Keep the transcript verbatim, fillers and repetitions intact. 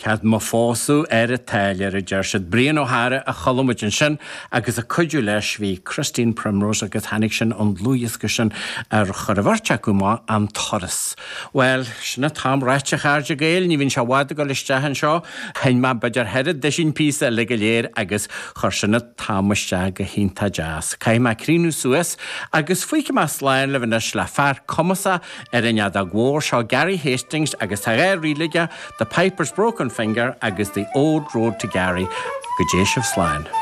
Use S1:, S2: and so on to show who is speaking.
S1: Cad mo phósadh ar an táilliúir, a deir siad. Brian Ó hEára a chuala muid ansin agus ag cuidiú leis bhí Christine Primrose agus tháinig sin ón dlúthdhiosca sin ar chuir an bheirt acu amach, An Turas. Bhuel, sin an t-am ráite a chairde Gael, ní bhíonn sé i bhfad ag dul isteach anseo. Sheinn mé b'fhéidir cheithre duisín píosa eile go léir agus chuir sin an t-am isteach go hiontach deas. Caithfidh mé críochnú suas agus fágfaidh mé slán libh anois le fear cumasach ar an fheadóg mhór seo, Gary Hastings, agus tá dhá ríl aige, The Piper's Broken Finger agus The Old Road to Garry. Go dté sibh slán.